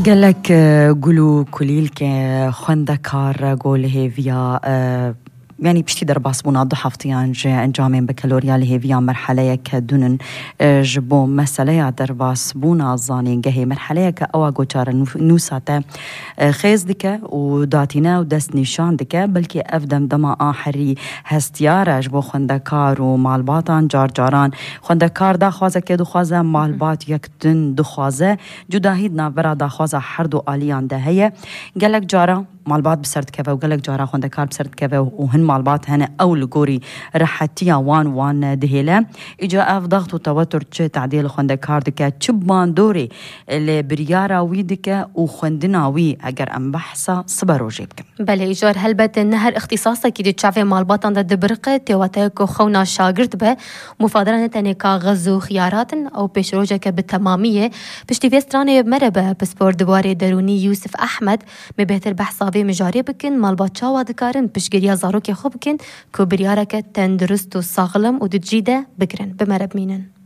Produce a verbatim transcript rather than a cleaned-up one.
Gelek e, gul û kulîlke xwendekar go li hêviya e, yanî piştî derbasbûna du heftiyan ji encamên bekeloriya li hêviya merheleyeke dunin e, ji bo meseleya derbasbûna zanîngehê merheleyeke ewa goçare nû- nûsa te e, xêz dike û datîne û dest nîşan dike, belkî ev demdema a herî hestiyar e ji bo xwendekar û malbatan. Car caran xwendekar daxwazeke dixwaze, malbat yek din dixwaze. Cudahî di navbera daxwaza her du aliyan de heye. Gelek cara malbat bi ser dikeve û gelek cara xwendekar bi ser dikeve û hin malbat hene ew li gorî rehetiya wan wan dihêle. Îca ev daxt û tewetur çi tedê li xwendekar dike, çi bandorê li biryara wî dike û xwendina wî, eger em behsa siberojê bikin. Belê, îcar helbet ne her îxtîsasekî di çavê malbatan de dibiriqe, tê wate ku xewna şagirt be, mufadera ne tenê kaxiz û xiyarat in, ew pêşrojeke bi temamî ye. Piştî vê stranê mere be pispor di warê derûnî Yûsif Ehmed, me bêhtir behsa vê mijarê bikin, malbat çawa dikarin piştgiriya zarokê xwe bikin ku biryareke tendurist û saxlem û di cî de bigirin. Bi mere bimînin.